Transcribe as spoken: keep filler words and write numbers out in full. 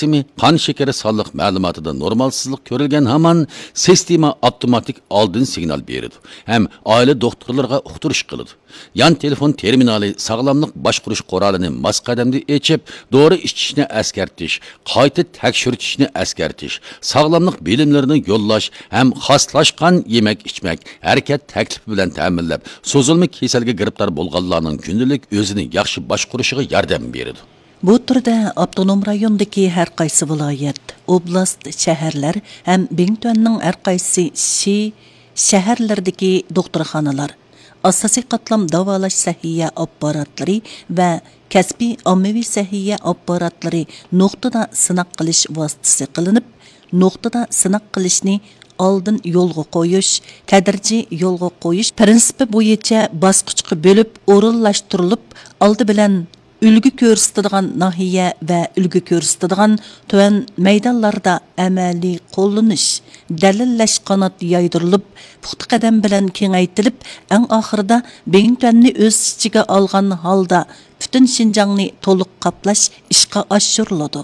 سىستېمى، قان شېكىرى سانلىق مەلۇماتىدا نورمالسىزلىق كۆرۈلگەن ھامان، سىستېما ئاپتوماتىك ئالدىن سىگنال بېرىدۇ ھەم ئائىلە دوختۇرلىرىغا ئۇقتۇرۇش قىلىدۇ. يان تېلېفون تېرمىنالى ساغلاملىق باشقۇرۇش قورالىنى ماس قەدەمدە ئېچىپ، دورا ئىچىشنى ئەسكەرتىش، قايتا تەكشۈرتۈشنى ئەسكەرتىش، ساغلاملىق بىلىملىرىنى يوللاش ھەم خاسلاشقان يېمەك-ئىچمەك، ھەرىكەت تەكلىپى بىلەن تەمىنلەپ، سوزۇلما كېسەلگە گىرىپتار بولغانلارنىڭ كۈندىلىك ئۆزىنى ياخشى باشقۇرۇشىغا ياردەم بېرىدۇ. بۇ تۈردە ئاپتونوم رايوندىكى ھەر قايسى ۋىلايەت، ئوبلاست، شەھەرلەر ھەم بىڭتۈەننىڭ ھەر قايسى شى، شەھەرلىرىدىكى دوختۇرخانىلار، ئاساسىي قاتلام داۋالاش سەھىيە ئاپپاراتلىرى ۋە كەسپىي ئاممىۋى سەھىيە ئاپپاراتلىرى نۇقتىدا سىناق قىلىش ۋاسىتىسى قىلىنىپ، نۇقتىدا سىناق قىلىشنى ئالدىن يولغا قويۇش، تەدرىجىي يولغا قويۇش پىرىنسىپى بويىچە باسقۇچقا بۆلۈپ ئورۇنلاشتۇرۇلۇپ، ئالدى بىلەن ئۈلگە كۆرسىتىدىغان ناھىيە ۋە ئۈلگە كۆرسىتىدىغان تۆۋەن مەيدانلاردا ئەمەلىي قوللىنىش، دەلىللەش قانات يايدۇرۇلۇپ، پۇختا قەدەم بىلەن كېڭەيتىلىپ، ئەڭ ئاخىرىدا بىڭتۈەننى ئۆز ئىچىگە ئالغان ھالدا پۈتۈن شىنجاڭنى تولۇق قاپلاش ئىشقا ئاشۇرۇلىدۇ.